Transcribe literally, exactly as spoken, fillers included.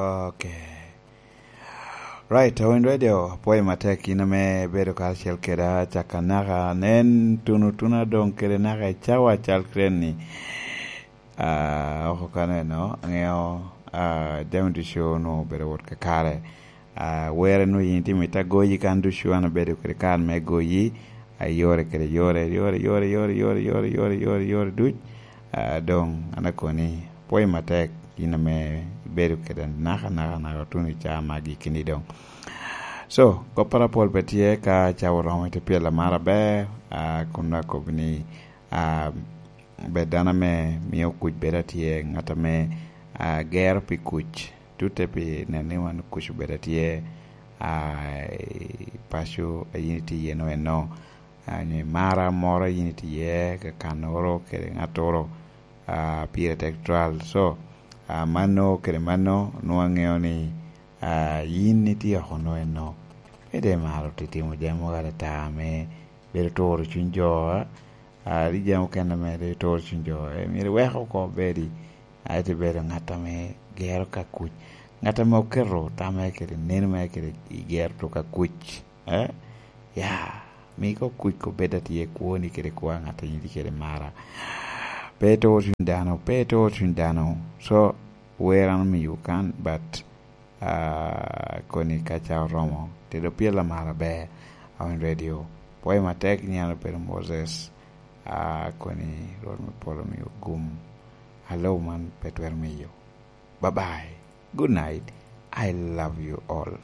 Ok. Right, Awiny Radio, apwoyo matek in ame ibedo karacel keda caka naka nen tuno tuna doŋ kede naka i cawa cal kren ni. Ah, oko kano eno, aŋeo, ah, jami ducu onwoŋo obedo wot kakare. Ah, were nwoŋo yin itimo ite agoyi kan ducu an abedo kede kare me goyi, ah, yore kede yore, yore, yore, yore duc. Ah, doŋ an akoni, apwoyo matek in ame ibedo kede naka, naka, naka tuno i caa magi kini doŋ. So, kopporo apol pe tye ka cawa oromo ite pyel amara aber, ah, kun akobbi ni, ah, bed dano ame mio kuc bedo atye, ŋat ame, ah, gero pi kuc, tutte pi nen ni wan kuc obedo atye, ah, i paco a yin itye iye no eno, ah, nyo i mara moro a yin itye iye, ka kannoro kede ŋattoro, ah, pire tek twal. So, ah, mano kede mano, nwoŋo aŋeo ni, ah, yin itye oko no eno. Pe de maro titimo jami mogo atata ame bedo turo cuny jo, ah, ah, rik jami okene ame rik turo cuny jo, eh, myero iwek oko bedi, ah, ite bedo ŋat ame gero ka kuc. Ŋat ame oketo tamme kede neno mere kede i gero to ka kuc, eh? Ya, mi ko kuc ko bed atye kwoni kede kwa ŋat a yin tye kede mara. Pe turo cuny dano, pe turo cuny dano. So, wer an omiyo kan, but, ah, koni ka ca oromo, tedo pyel amara aber, Awiny Radio. Pwoyo matek ni an obedo Moses, ah, koni Rwot me polo omiyo gum. Alo man pe twero miyo. Bye bye. Good night. I love you all.